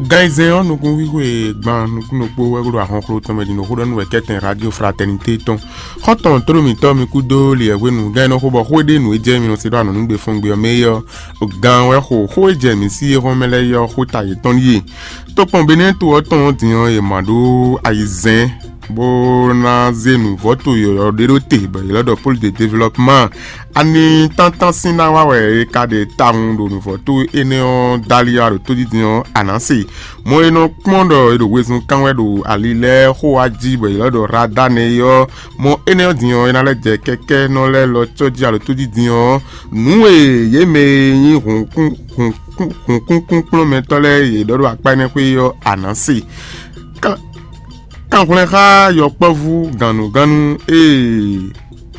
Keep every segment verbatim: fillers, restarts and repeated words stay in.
Gan e zɛn ɔ́, nukúnxwíxwe gban nukúnnukpó wɛ ɖo ahɔnxló tɔn mɛ ɖi nǔ xó ɖɔ nú wɛ kɛ́tɛn Radio Fraternité tɔn. Xɔ́ntɔn tlóló mǐtɔn mi kú dó li wɛ hwenu, gan e nɔ xo bɔ xó e ɖe nǔ e jɛ mi nɔ se ɖó anɔ̌ nú gbe fɔ́n gbe ɔ́ mɛ é ɔ́, gan wɛ xo xó e jɛ mǐ sí é hɔn mɛ lɛ́ɛ é ɔ́, xó ta yětɔn ɖíe. Tokpɔn Benɛ́to ɔ́ tɔn ɔ́ din ɔ́, è ma ɖó ayizɛ́n bó ná zé nǔvɔ́to yɔ̌yɔ́ ɖé ɖó te, bɔ yě lɛ́ ɖɔ Pôlu de Development. Ani tántán sín ná wá wɛ è ka ɖe tawun ɖo nǔvɔ́to énɛ́ ɔ́ dali wá ɖo tódídin ɔ́, a nǎ se. Mɔ e nɔ kpɔ́n ɖɔ è ɖo wezun kán wɛ ɖo ali lɛ́ɛ xó wá jí, bɔ è lɛ́ ɖɔ Radane é ɔ́, mɔ énɛ́ ɔ́ din ɔ́, é ná lɛ́ jɛ kɛ́kɛ́nɔ lɛ́ɛ lɔ cɔ́ jí alo tódídin ɔ́, nǔ e yě mɛ e nyí hǔnkúnkúnkplɔ́nmɛtɔ́ lɛ́ɛ yě ɖɔ ɖo akpá énɛ́ xwé é ɔ́, a nǎ se. Kanhwlɛ́n xá yɔkpɔ́vú gannugánnu e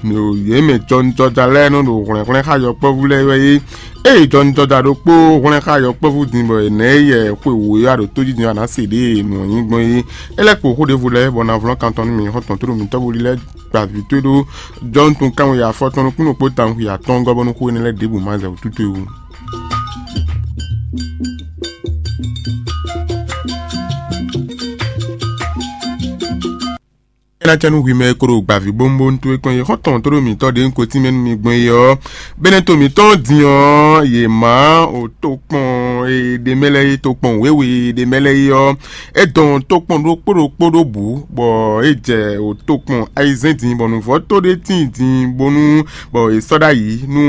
yě mɛ jɔnijɔja lɛ́ɛ nɔ ɖo hwlɛ̌nhwlɛ́n xá yɔkpɔ́vú lɛ́ɛ wɛ é. Ée jɔnijɔja ɖokpó hwlɛ́n xá yɔkpɔ́vú din bɔ è nɛ̌ yɛ xwe wǒ é wá ɖo tójíjɛ́n ɔ́, a nǎ se ɖěe nǔ ɔ́ nyí gbɔn é. É lɛ́ kpo xó ɖěvo lɛ́ɛ bɔ ná vlɔ́ kan tɔn nú mì, xɔ́ntɔn tlóló mǐtɔn bo lílɛ́ gba vǐ towe ɖó jɔ́nútun kanwe afɔtɔn nukún ɖokpó tawun xwe atɔ́ɔ́ngɔ́ bónú xó énɛ́ lɛ́ɛ ɖěbǔ ma zɛ wǔtú towe wú. É ná cɛ nú hwi mɛ e ko ɖo gbǎví bónbónú towe kpɔ́n é, xɔ́ntɔn tlóló mǐtɔn ɖě un ko tínmɛ nú mi gbɔn é ɔ́, bɛ́nɛ́ to mǐtɔn din ɔ́, yě má o tokpɔn e ɖ'é mɛ lɛ́ɛ é, tokpɔn wěwe e ɖ'é mɛ lɛ́ɛ é ɔ́, é dɔn tokpɔn ɖokpó ɖokpó ɖó bǔ, bɔ é jɛ o tokpɔn ayizɛ́n din, bɔ nǔvɔ́ to ɖé tíin din bónú bɔ è sɔ́ ɖ'ayǐ nú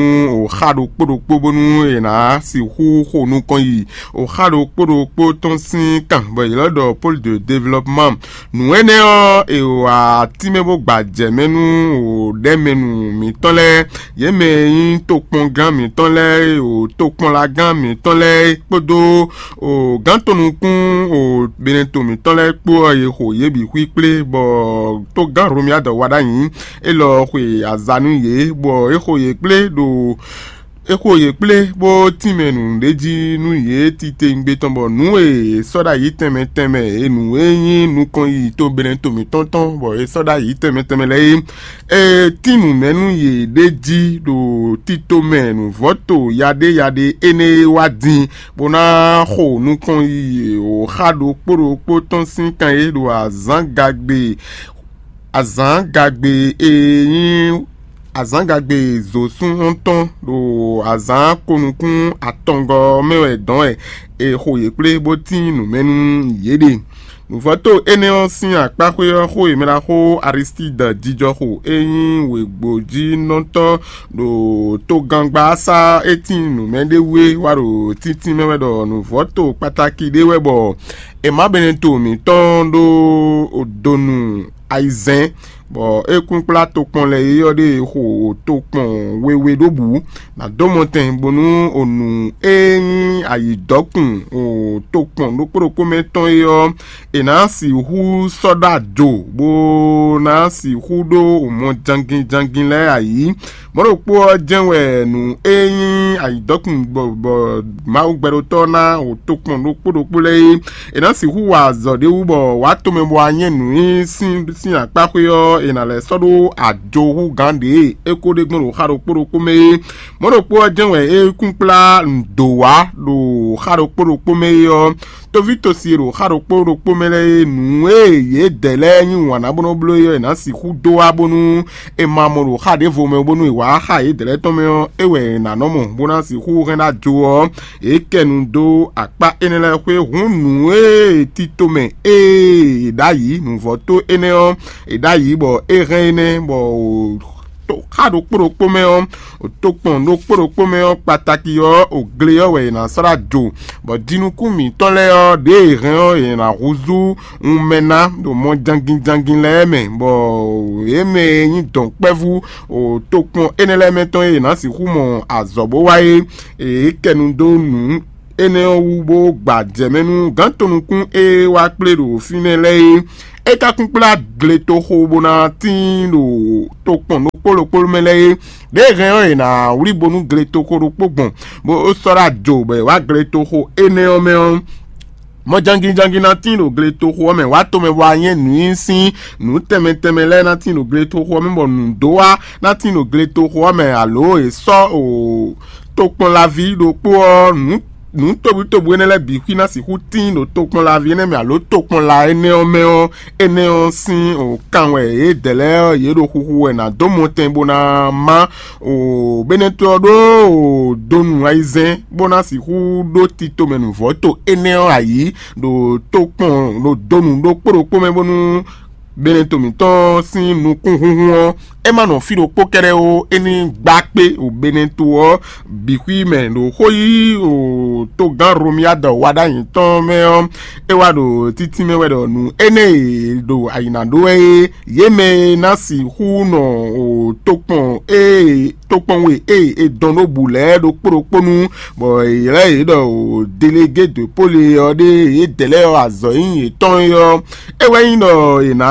o xá ɖokpó ɖokpó bónú è nǎ sixú xo nukɔn yi o xá ɖokpó ɖokpó tɔn sín kan, bɔ yě lɛ́ ɖɔ Pôlu de Development. Nǔ énɛ́ ɔ́, è wa tínmɛ bó gba jɛ mɛ nú o ɖɛ̌mɛnu mǐtɔn lɛ́ɛ, yě mɛ e nyí tokpɔngán mǐtɔn lɛ́ɛ, o tokpɔnlagán mǐtɔn lɛ́ɛ kpódó o gǎntɔ́nukún o Benɛto mǐtɔn lɛ́ɛ kpó ɔ́, è xo yě bǐ xwíkplé, bɔ tógán Hlomia dɔ wa ɖ'ayǐ. Élɔ́ xwe aza nú yě, bɔ é xo yě kplé ɖo é xo yě kplé bó tínmɛ nǔɖéjí nú yě titewungbe tɔn, bɔ nǔ e è sɔ́ ɖ'ayǐ tɛnmɛ tɛnmɛ e nǔ e nyí nukɔn yi to Benɛto mǐtɔn tɔn, bɔ è sɔ́ ɖ'ayǐ tɛnmɛ tɛnmɛ lɛ́ɛ é, é tín nǔ mɛ nú yě ɖ'é jí ɖo tito mɛ nǔvɔ́to yaɖéyaɖé énɛ́ e wá din, bó ná xo nukɔn yi o xá ɖokpó ɖokpó tɔn sín kan e ɖo azǎngagbe azǎngagbe e nyí azǎngagbe zǒsún tɔn ɖo azǎn konukún atɔngɔ́ ɔ́ mɛ wɛ dɔn wɛ è xo yě kplé bó tín nǔ mɛ nú yě ɖe. Nǔvɔ́to énɛ́ ɔ́ sín akpáxwé ɔ́, xó e mɛ ɖaxó Aristídɔ jijɔ xo e nyí wěgbójínɔtɔ́ ɖo togangba sá é tín nǔ mɛ ɖé wú é wá ɖo tíntín mɛ wɛ ɖɔ nǔvɔ́to kpatáki ɖé wɛ bɔ è má Benɛto mǐtɔn ɖó donu ayizɛ́n, bɔ é kún kplá tokpɔn lɛ́ɛ é ɔ́ ɖe xo tokpɔn wewe ɖó bǔ, nǎ dó mɔtɛn bónú o nǔ e nyí ayǐdɔ́kun o tokpɔn ɖokpó ɖokpó mɛ tɔn é ɔ́, è nǎ sixú sɔ́ ɖó ajo, bó ná sixú ɖó mɔ jangin jangin lɛ́ɛ ayǐ. Mɔ̌ ɖokpó ɔ́ jɛ́n wɛ nǔ e nyí ayǐdɔ́kun bɔ Mawu gbɛɖótɔ́ ná o tokpɔn ɖokpó ɖokpó lɛ́ɛ é. È nǎ sixú wa azɔ̌ ɖé wú bɔ wǎ tomɛ bɔ anyɛ́ nǔ e sín sín akpáxwé ɔ́, è nǎ lɛ́ sɔ́ ɖó ajo hú gǎn ɖě e é ko ɖe gbɔn ɖo xá ɖokpó ɖokpó mɛ é. Mɔ̌ ɖokpó ɔ́ jɛ́n wɛ é kún kplá nǔdó wá ɖo xá ɖokpó ɖokpó mɛ é ɔ́, toví tosi e ɖo xá ɖokpó ɖokpó mɛ lɛ́ɛ é, nǔ e yědɛɛ lɛ́ɛ nyí wǎn ná bó nɔ́ bló é ɔ́, è nǎ sixú dó wá bónú è ma mɔ ɖo xá ɖěvo mɛ bónú è wǎ xá yědɛɛ lɛ́ɛ tɔn mɛ ɔ́, é wɛ è nǎ nɔ mɔ bó ná sixú hɛn ɖó ajo ɔ́, é kɛ nu dó akpá énɛ́ lɛ́ɛ xwé. Hǔn nǔ e tito mɛ ée è ɖǎyǐ nǔvɔ́ tó énɛ́ ɔ́, è ɖǎyǐ bɔ é hɛn énɛ́ bɔ xá ɖokpó ɖokpó mɛ ɔ́, tokpɔn ɖokpó ɖokpó mɛ ɔ́ kpataki ɔ́, o gle ɔ́ wɛ è nǎ slá jo, bɔ jinukún mǐtɔn lɛ́ɛ ɔ́, ɖěe è hɛn ɔ́, è nǎ húzú wunmɛ ná ɖo mɔ jangin jangin lɛ́ɛ mɛ, bɔ yě mɛ e nyí dɔ̌nkpɛvú o tokpɔn énɛ́ lɛ́ɛ mɛ tɔn e è nǎ sixú mɔ azɔ̌ bó wá é, è kɛ nu dó nǔ énɛ́ ɔ́ wú bó gba jɛ mɛ nú gǎn tɔn nukún e wá kplé ɖo fínɛ́ lɛ́ɛ é. É ka kún kplá gletoxo bó ná tíin ɖo tokpɔn ɖokpó ɖokpó mɛ lɛ́ɛ é. Ɖěe hɛn ɔ́, è nǎ wlí bónú gletoxo ɖokpó gbɔn, bó sɔ́ ɖó ajo bɔ è wǎ gletoxo énɛ́ ɔ́ mɛ ɔ́, mɔ jangin jangin ná tíin ɖo gletoxo ɔ́ mɛ, wǎ tomɛ bɔ anyɛ́ nǔ nyi sín nǔ tɛnmɛ tɛnmɛ lɛ́ɛ ná tíin ɖo gletoxo ɔ́ mɛ, bɔ nǔdó wá ná tíin ɖo gletoxo ɔ́ mɛ, alo è sɔ́ o tokpɔnlaví ɖokpó ɔ́ nǔ nǔ tobutóbu énɛ́ lɛ́ɛ bǐ xwí ná sixú tíin ɖo tokpɔnlaví énɛ́ mɛ alo tokpɔnla énɛ́ ɔ́ mɛ ɔ́, énɛ́ ɔ́ sín kan wɛ yědɛɛ lɛ́ɛ ɔ́, yě ɖo xuxu wɛ ná dó mɔtɛn bó ná má. Bɛ́nɛ́tɔ́ ɔ́ ɖó donu ayizɛ́n bó ná sixú ɖó tito mɛ nǔvɔ́ to énɛ́ ɔ́ ayǐ ɖo tokpɔn ɖo donu ɖokpó ɖokpó mɛ bónú Beneto mǐtɔn sín nukúnhúnhún ɔ́, é má nɔ fí ɖokpó kɛ́ɖɛ́ ó, é ní gbá kpé ɖo Beneto ɔ́ bǐ xwí mɛ ɖo xó yí ɖo togán Romiyáda wa ɖ'ayǐ tɔn mɛ ɔ́, é wá ɖo títí mɛ wɛ ɖɔ nǔ énɛ́ e ɖo ayǐ ná ɖó wɛ é, yě mɛ e ná sixú nɔ ɖo tokpɔn e tokpɔnwe e è dɔn ɖó bǔ lɛ́ɛ ɖokpó ɖokpó nu, bɔ è ylɔ́ yě ɖɔ ɖo Delegé de Pole ɔ́ ɖe yědɛɛ lɛ́ɛ ɔ́ azɔ̌ e nyí yětɔn é ɔ́, é wɛ nyí ɖɔ è nǎ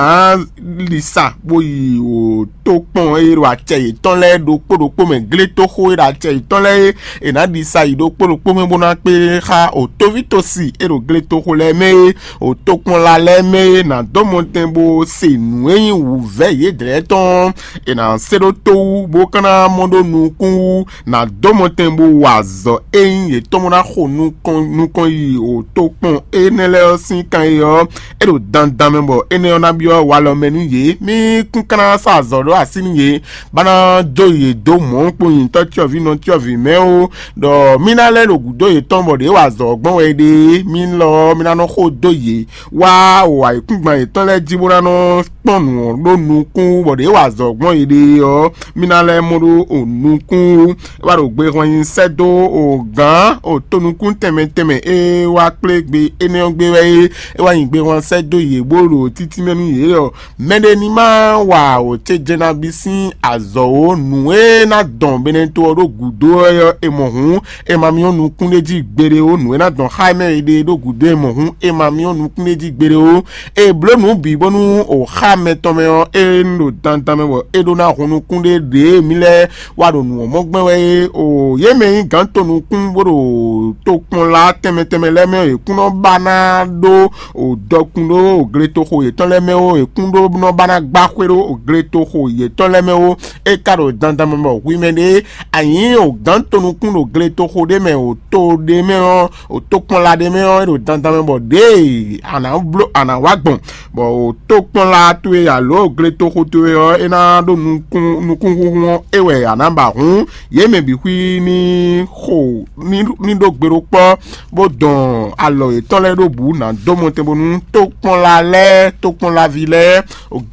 ɖi sa bó yi ɖo tokpɔn e ɖo acɛ yětɔn lɛ́ɛ ɖokpó ɖokpó mɛ, gletoxo e ɖo acɛ yětɔn lɛ́ɛ é, è nǎ ɖi sa yi ɖokpó ɖokpó mɛ bó ná kpé xá ɖo tóvítosi e ɖo gletoxo lɛ́ɛ mɛ é, ɖo tokpɔnla lɛ́ɛ mɛ é, nǎ dó mɔtɛn bó se nǔ e nyí wǔvɛ́ yědɛɛ tɔn ɔ́, è nǎ se ɖó tó wú bó ka ná mɔ ɖó nukún wú, nǎ dó mɔtɛn bó wa azɔ̌ e nyí yětɔn bó ná xo nukɔn nukɔn yi ɖo tokpɔn énɛ́ lɛ́ɛ ɔ́ sín kan é ɔ́, é ɖo dandan mɛ bɔ énɛ́ ɔ́ ná byɔ́ walɔ mɛ nú yě. Mí kún ka ná sa azɔ̌ ɖó así nú yě, bá ná dó yě dó mɔ̌ kpó nyitɔ́ cyɔ́vǐnɔ cyɔ́vǐ mɛ ó, ɖɔ mí ná lɛ́ ɖo gǔdo yětɔn bɔ ɖě wa azɔ̌ gbɔn wɛ é ɖe é. Mí lɔ ɔ́, mí ná nɔ xó dó yě wá o ayǐkúngban yětɔn lɛ́ɛ jí bó ná nɔ kpɔ́n nǔ ɔ́ ɖó nukún bɔ ɖě wa azɔ̌ gbɔn yěɖée ɔ́, mí ná lɛ́ mɔ ɖó o nukún wú. É wá ɖo gbe hɔn nyi sɛ́ dó o gǎn o tonukún tɛnmɛ tɛnmɛ e wá kplé gbe énɛ́ ɔ́ gbé wɛ é. É wá nyi gbe hɔn sɛ́ dó yě bó ɖo títí mɛ nú yě ɔ́, mɛɖé ní má wa o ce jɛ nabí sín azɔ̌ ó. Nǔ e ná dɔn Beneto ɔ́ ɖó gǔdo ɔ́, è mɔ hǔn, è ma myɔ nukún ɖé jí gbeɖé ó. Nǔ e ná dɔn xá mɛ e ɖe ɖó gǔdo è mɔ hǔn, è ma myɔ nukún ɖé jí gbeɖé ó. È blǒ nǔ bǐ bónú o xá mɛtɔn mɛ ɔ́, é ní ɖo dandan mɛ bɔ é ɖó ná hun nukún ɖé ɖě mǐ lɛ́ɛ wá ɖo nǔ ɔ́ mɔ gbɛn wɛ é. O yě mɛ nyí gǎn tonukún bó ɖo tokpɔnla tɛnmɛ tɛnmɛ lɛ́ɛ mɛ ɔ́, yě kún nɔ ba ná ɖó o dɔkun ɖó o gletoxo yětɔn lɛ́ɛ mɛ ó, yě kún ɖó nɔ ba ná gbá xwé ɖó o gletoxo yětɔn lɛ́ɛ mɛ ó. É ka ɖo dandan mɛ bɔ hwi mɛ ɖé a nyǐ o gǎn tonukún ɖo gletoxo ɖé mɛ o to ɖé mɛ ɔ́, o tokpɔnla ɖé mɛ ɔ́, é ɖo dandan mɛ bɔ ɖěe a nǎ bló a nǎ wá gbɔn, bɔ o tokpɔnla towe alo gletoxo towe ɔ́, é ná ɖó nukún nukúnhúnhún ɔ́, é wɛ a nǎ ba hǔn yě mɛ bǐ xwí ní xo ní ní ɖó gbe ɖó kpɔ́, bó dɔn alɔ yětɔn lɛ́ɛ ɖó bǔ ná dó mɔtɛn bónú tokpɔnla lɛ́ɛ tokpɔnlaví lɛ́ɛ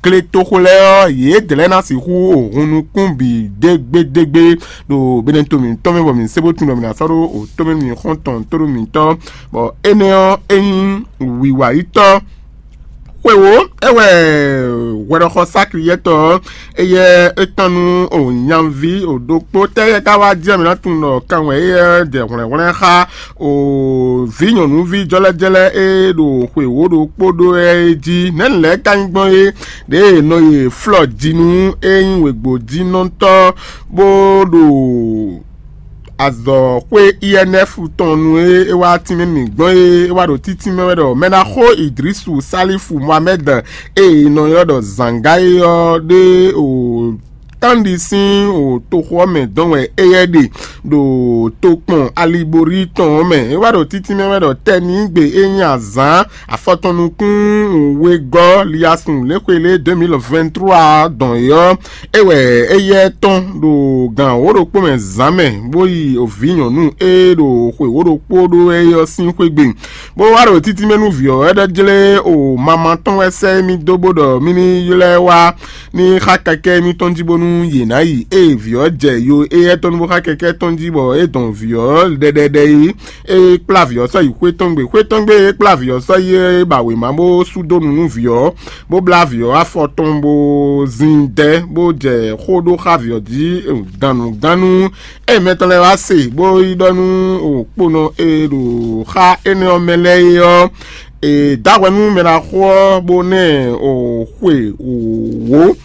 gletoxo lɛ́ɛ ɔ́, yědɛɛ lɛ́ɛ ná sixú o hun nukún bǐ dégbédégbé ɖo Beneto mǐtɔn mɛ bɔ mǐ se bó tunwun ɖɔ mǐ ná sɔ́ ɖó o tómɛ nú mǐ xɔ́ntɔn tóɖó mǐtɔn, bɔ énɛ́ ɔ́ é nyí wǐwayítɔ́. Xwewǒ é wɛ hwɛɖɔxɔ Sakliyɛ́tɔ́ ɔ́, éyɛ́ é tɔ́n nú o nyaví o ɖokpó tɛ́ yɛ ka wá jɛ mǐ ná tunwun ɖɔ kan wɛ éyɛ́ jɛ hwlɛ̌nhwlɛ́n xá o vǐ nyɔ̌nuví jɔ́lɛ́jɔ́lɛ́ e ɖo xwewǒ ɖokpó ɖó é jí. Nɛ̌ nǔ lɛ́ɛ ka nyí gbɔn é? Ɖěe è nɔ yi flɔ ji nú é nyí wěgbójínɔtɔ́ bó ɖo azɔ̌xwé I N F tɔn nu e é wá tínmɛ mì gbɔn é, é wá ɖo títí mɛ wɛ ɖɔ mɛ ná xó Idrisu Salifu Mohamɛd e è nɔ ylɔ́ ɖɔ Zanga é ɔ́ ɖe o tánɖi sín o toxo ɔ́ mɛ dɔn wɛ éyɛ́ ɖe ɖo tokpɔn Alibori tɔn ɔ́ mɛ. É wá ɖo títí mɛ wɛ ɖɔ tɛ́ ní gbe é nyí azǎn afɔtɔn nukún wegɔ́ liasun léxwelé deux mille vingt-trois dɔn é ɔ́, é wɛ éyɛ́ tɔn ɖo gǎn wǒ ɖokpó mɛ zǎn mɛ, bó yi vǐ nyɔ̌nu e ɖo xwe wǒ ɖokpó ɖó é ɔ́ sín xwé gbe, bó wá ɖo títí mɛ nú vǐ ɔ́ wɛ ɖɔ jlé o mama tɔn wɛ sɛ́ émí dó bó ɖɔ mí ní ylɔ́ ɛ wá ní xá kɛkɛ́ émítɔn jí bónú yě ná yi. Ée vǐ ɔ́ jɛ yo éyɛ́ tɔn nu bó xá kɛkɛ́ tɔn jí bɔ é dɔn vǐ ɔ́ ɖɛɖɛɖɛ é, é kplá vǐ ɔ́ sɔ́ yi xwé tɔn gbe. Xwé tɔn gbe é kplá vǐ ɔ́ sɔ́ yi é ba wěma bó sú dó nu nú vǐ ɔ́, bó blá vǐ ɔ́ afɔ tɔn bó zin dɛ́ bó jɛ xó ɖó xá vǐ ɔ́ jí gannugánnu. Ée mɛ tɔn lɛ́ɛ wá se bó yi ɖɔ nú kponɔ e ɖo xá énɛ́ ɔ́ mɛ lɛ́ɛ é ɔ́, è dǎ hwɛ nú mɛ ɖaxó ɔ́ bó ná ɛ xwe wǒ,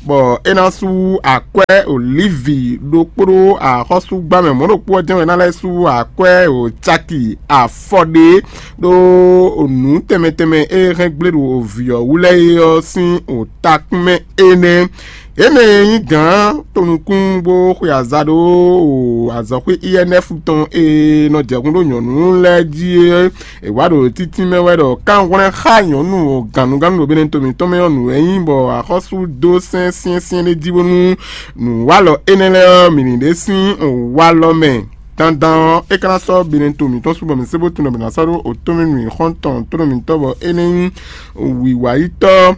bɔ é ná sú akwɛ́ olívi ɖokpó ɖó axɔ́súgbámɛ mɔ̌ ɖokpó ɔ́ jɛ́n wɛ é ná lɛ́ sú akwɛ́ caki afɔ ɖé ɖó nǔ tɛnmɛ tɛnmɛ e hɛn gblé ɖo vǐ ɔ́ wú lɛ́ɛ é ɔ́ sín takún mɛ énɛ́. Yě mɛ e nyí gǎn tonukún bó xwe aza ɖó azɔ̌xwé I N F tɔn e nɔ jɛ hun ɖó nyɔ̌nu lɛ́ɛ jí é, è wǎ ɖo títí mɛ wɛ ɖɔ kánhwlɛ́n xá nyɔ̌nu gǎnugǎnu ɖo Benɛto mǐtɔn mɛ ɔ́ nǔ wɛ nyí, bɔ axɔ́sú dó sɛ́n syɛ́nsyɛ́n ɖé jí bónú nǔwalɔ énɛ́ lɛ́ɛ ɔ́, mǐ ní ɖe sín walɔ mɛ dandan ɔ́, é ka ná sɔ́ Benɛto mǐtɔn su bɔ mǐ sé bó tunwun ɖɔ mǐ ná sɔ́ ɖó otɔ́mɛnu xɔ́ntɔn tónɔ mǐtɔn bɔ é nɛ́ nyí wǐwayítɔ́.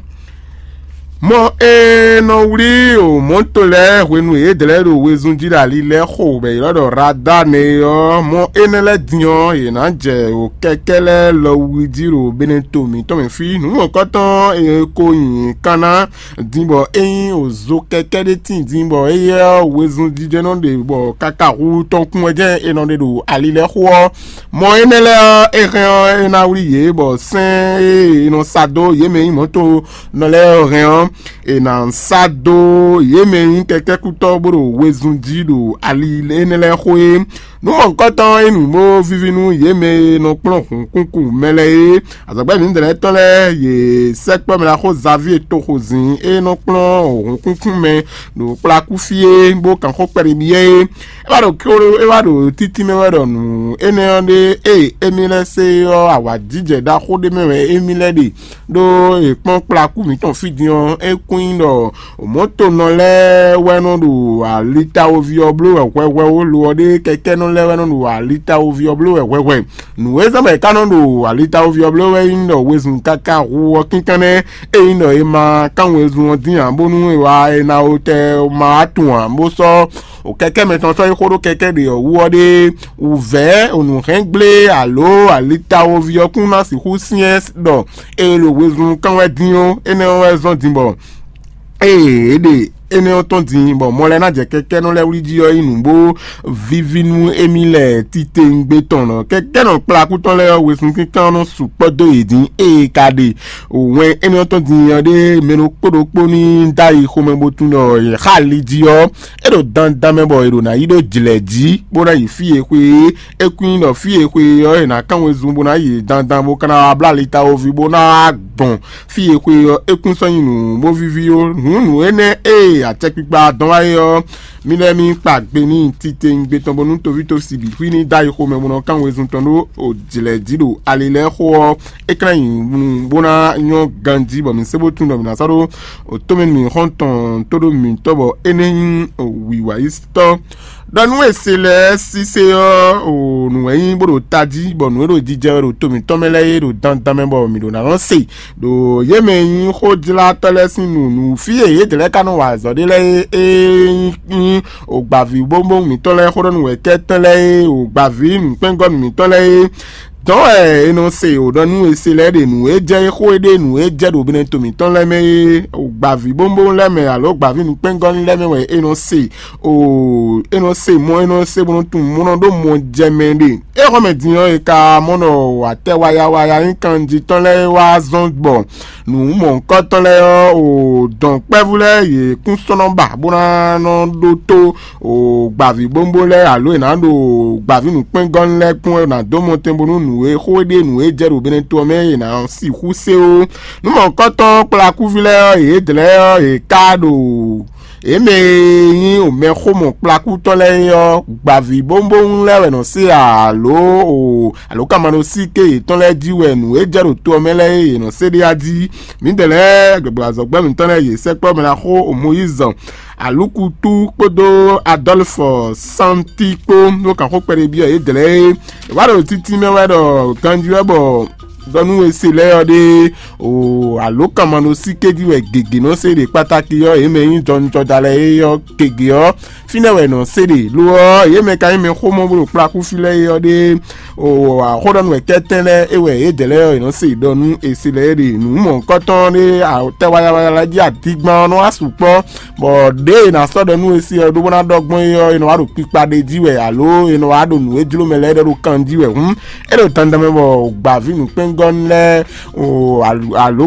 Mɔ e nɔ wlí o mɔ̌to lɛ́ɛ hwenu e yě dlɛ́ ɖo wezun jí ɖo ali lɛ́ɛ xo bɔ è ylɔ́ ɖɔ Radane ɔ́, mɔ énɛ́ lɛ́ɛ din ɔ́, yě ná jɛ o kɛkɛ́ lɛ́ɛ lɔ wu jí ɖo Benɛto mǐtɔn mɛ fí. Nǔ mɔ̌kɔtɔn e ko nyi kan ná din bɔ é nyí o zo kɛkɛ́ ɖé tíin din bɔ éyɛ́ ɔ́, wezun jijɛ nɔ ɖe bɔ káká hu tɔn kún wɛ jɛ́n è nɔ ɖe ɖo ali lɛ́ɛ xo ɔ́, mɔ énɛ́ lɛ́ɛ ɔ́, é hɛn ɔ́, é ná wlí yě bɔ sɛ́n e è nɔ sa dó yě mɛ nyí mɔ̌to nɔ lɛ́ɛ ɔ́ hɛn ɔ́, è nǎ sá dó yě mɛ e nyí kɛkɛ́kútɔ́ bó ɖo wezun jí ɖo ali énɛ́ lɛ́ɛ xo é. Nǔ mɔ̌hunkɔtɔn e nǔ bó víví nú yě mɛ e nɔ kplɔ́n hǔnkúnkún mɛ lɛ́ɛ é. Azɔ̌gbɛ́ mǐdɛɛ tɔn lɛ́ɛ yě sɛkpɔ́ mɛ ɖaxó Zavíe toxo zǐn e nɔ kplɔ́n hǔnkúnkún mɛ ɖo kplakú fí é, bó kan xó kpɛɖé byɔ́ é. É wá ɖo kéró é wá ɖo títí mɛ wɛ ɖɔ nǔ énɛ́ ɔ́ ɖe e émí lɛ́ɛ se ɔ́, awǎjijɛ ɖaxó ɖé mɛ wɛ émí lɛ́ɛ ɖe. Ɖó è kpɔ́n kplakú mǐtɔn fí din ɔ́, é kún nyí ɖɔ mɔ̌tonɔ lɛ́ɛ wɛ nɔ ɖo alitawoví ɔ́ bló wɛ hwɛhwɛ ó, lo ɔ́ ɖé kɛkɛ́nɔ lɛ́ɛ wɛ nɔ ɖo alitawoví ɔ́ bló wɛ hwɛhwɛ. Nǔ e zán bɔ è ka nɔ ɖo alitawoví ɔ́ bló wɛ nyí ɖɔ wezun káká hu ɔ́ kínkán nɛ́, é nyí ɖɔ è ma kán wezun ɔ́ dín ǎ bónú è wá è na wotɛ ma wá tunwun ǎ, bó sɔ́ o kɛkɛ́ mɛtɔn sɔ́ yi xó ɖó kɛkɛ́ ɖě ɔ́ wú ɔ́ ɖé wǔvɛ́ nǔhɛngblé alo alitawoví ɔ́ kún ná sixú syɛ́n ɖɔ è ɖo wezun kán wɛ dín ó, énɛ́ ɔ́ wɛ zɔ́n din bɔ ée é ɖe énɛ́ ɔ́ tɔn din bɔ mɔ lɛ́ɛ ná jɛ kɛkɛ́nɔ lɛ́ɛ wlí jí ɔ́ yi nǔ bó víví nú émí lɛ́ɛ titewungbe tɔn nɔ. Kɛkɛ́nɔ kplakú tɔn lɛ́ɛ ɔ́, wezun kínkán ɔ́ nɔ sukpɔ́ dó yě dín ée ka ɖe wɛn énɛ́ ɔ́ tɔn din ɔ́ ɖé mɛ ɖokpó ɖokpó ní dó ayi xomɛ bó tunwun ɖɔ yě xa ali jí ɔ́, é ɖo dandan mɛ bɔ è ɖo ná yi ɖó jlɛ̌ jí bó ná yi fí e xwe é. É kún nyí ɖɔ fí e xwe ɔ́ è nǎ kán wezun bó ná yi dandan bó ka ná wá bló alitawoví bó ná wá gbɔn fí e xwe ɔ́, é kún sɔ́ nyí nǔ bó víví ó. Nǔ nǔ énɛ́ e acɛkpikpa dɔn wá é ɔ́, mì lɛ́ mì kpa gbe n'i titewungbe tɔn bónú toví tɔn sibi xwí ní dó ayi xomɛ bó nɔ kán wezun tɔn ɖó jlɛ̌ jí ɖo ali lɛ́ɛ xo ɔ́, é ka ná nyi nǔ bó ná nyɔ́ ganjí bɔ mǐ sé bó tunwun ɖɔ mǐ ná sɔ́ ɖó otɔ́mɛnu mǐxɔ́ntɔn tó ɖó mǐtɔn bɔ é nɛ́ nyí wǐwayítɔ́. Ɖɔ nú è se lɛ́ɛ sísé ɔ́, o nǔ wɛ nyí bó ɖo tají, bɔ nǔ e ɖo jijɛ wɛ ɖo to mǐtɔn mɛ lɛ́ɛ é ɖo dandan mɛ bɔ mǐ ɖo ná nɔ se. Ɖo yě mɛ e nyí xójlátɔ́ lɛ́ɛ sín nǔ nú fí e yědɛɛ lɛ́ɛ ka nɔ wa azɔ̌ ɖe lɛ́ɛ é nyí ògbǎví bóbó mǐtɔn lɛ́ɛ xó ɖɔ nú wɛ̌kɛ́tɔ́ lɛ́ɛ é, ògbǎví nǔkpɛ́ngɔ́nú mǐtɔn lɛ́ɛ é. Dɔ̌n wɛ è nɔ se wǒ ɖɔ nú è se lɛ́ɛ ɖe nǔ e jɛ é xó e ɖe nǔ e jɛ ɖo binɛ to mǐtɔn lɛ́ɛ mɛ é, gbǎví bóbó lɛ́ɛ mɛ alo gbǎví nukpɛ́ngɔ́nú lɛ́ɛ mɛ wɛ è nɔ se o, è nɔ se mɔ, è nɔ se bó nɔ tunwun mɔ nɔ ɖó mɔ jɛ mɛ ɖe. É xɔ mɛ din ɔ́, è ka mɔ ɖɔ atɛ wayawaya nyí kanjí tɔn lɛ́ɛ wá zɔn gbɔ nǔ mɔ̌hunkɔtɔn lɛ́ɛ ɔ́, o dɔ̌nkpɛvú lɛ́ɛ yě kún sɔ́ nɔ ba bó ná nɔ ɖótó o gbǎví bóbó lɛ́ɛ alo è nǎ ɖo gbǎví nǔkpɛ́ngɔ́nú lɛ́ɛ kpɔ́n wɛ è nǎ dó mɔtɛn bónú nǔ e xó e ɖe nǔ e jɛ ɖo binɛ to ɔ́ mɛ è nǎ sixú se ó. Nǔ mɔ̌hunkɔtɔn kplakúví lɛ́ɛ ɔ́, yědɛɛ ɔ́, yě ká ɖo yě mɛ e nyí mɛxómɔ kplakútɔ́ lɛ́ɛ é ɔ́, gbǎví bóbó lɛ́ɛ wɛ nɔ se alo o alo ka ma nɔ sí ké yětɔn lɛ́ɛ jí wɛ nǔ e jɛ ɖo to ɔ́ mɛ lɛ́ɛ é yě nɔ se ɖe a jí. Mǐdɛɛ lɛ́ɛ gbɛgbɛ azɔ̌gbɛ́ mǐtɔn lɛ́ɛ yě sɛkpɔ́ mɛ ná xó o Mɔyízi Alukutu kpódó Adɔlfɔ Santi kpó ɖó kan xó kpɛɖé byɔ́ yě dlɛ̌ é. È wá ɖo títí mɛ wɛ ɖɔ ganjí wɛ bɔ ɖɔ nú e se lɛ́ɛ ɔ́ ɖe o alo kan ma nɔ sí kéjí wɛ gěgé nɔ se ɖe kpátákí ɔ́, yě mɛ nyí jɔnjɔda lɛ́ɛ é ɔ́ gěgé ɔ́, fínɛ́ wɛ nɔ se ɖe. Lo ɔ́, yě mɛ ka nyí mɛ xómɔ bó ɖo kplakúfí lɛ́ɛ é ɔ́ ɖe o axɔ́ɖɔnú wɛ kɛ́tɛ́n lɛ́ɛ é wɛ yě dɛ̌ lɛ́ɛ ɔ́, è nɔ se ɖɔ nú è se lɛ́ɛ ɖe nǔ mɔ̌hunkɔtɔn ɖé tɛ wayawaya lɛ́ɛ jí adígbán ɔ́ nɔ wá sukpɔ́ bɔ ɖěe è nǎ sɔ́ ɖɔ nú e se ɔ́ ɖó bó ná ɖɔ gbɔn é ɔ́, è nɔ wá ɖo kpikpa ɖé jí wɛ alo è nɔ wá ɖo nǔ e jló mɛ lɛ́ɛ ɖɔ ɖo kan jí wɛ hǔn, é ɖo dandan mɛ bɔ gbǎví nǔkpɛ́n gɔ́ lɛ́ɛ, o alo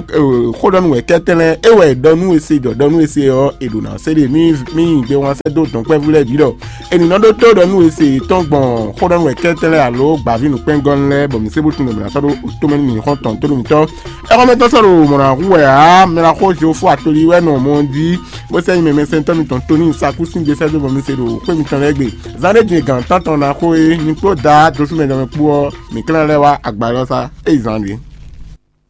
xóɖɔnú wɛ kɛ́tɛ́ lɛ́ɛ é wɛ ɖɔ nú e se ɖɔ ɖɔ nú e se ɔ́, è ɖo ná se ɖe mí mí nyi gbe wán sɛ́ dó dɔ̌nkpɛ́vú lɛ́ɛ bǐ ɖɔ è nǐ nɔ ɖótó ɖɔ nú e se tɔn gbɔn xóɖɔnú wɛ kɛ́tɛ́ lɛ́ɛ alo gbǎví nǔkpɛ́ngɔ́ lɛ́ɛ, bɔ mǐ se bó tunwun ɖɔ mǐ ná sɔ́ ɖó tomɛ nú mǐ xɔ́ntɔn tó ɖo mǐtɔn. Ɛxɔ́mɛtɔ́ sɔ́ ɖo mɔ̌ ná hu wɛ ǎ, mɛ ná xó Jehofa toli wɛ nɔ mɔ jí, bó sɛ́ nyi mɛmɛsɛntɔ́ mitɔn Tonii Sakúsi gbe sɛ́ dó bɔ mi se ɖo xwé mitɔn lɛ́ɛ gbe. Zán ɖé din gǎn tántɔn ná xó é, nyi kpó Daá dosúmɛ jɔmɛ kpó ɔ́, mǐ klɛ́n lɛ́ wá agba élɔ́ sá. Ée zán ɖe.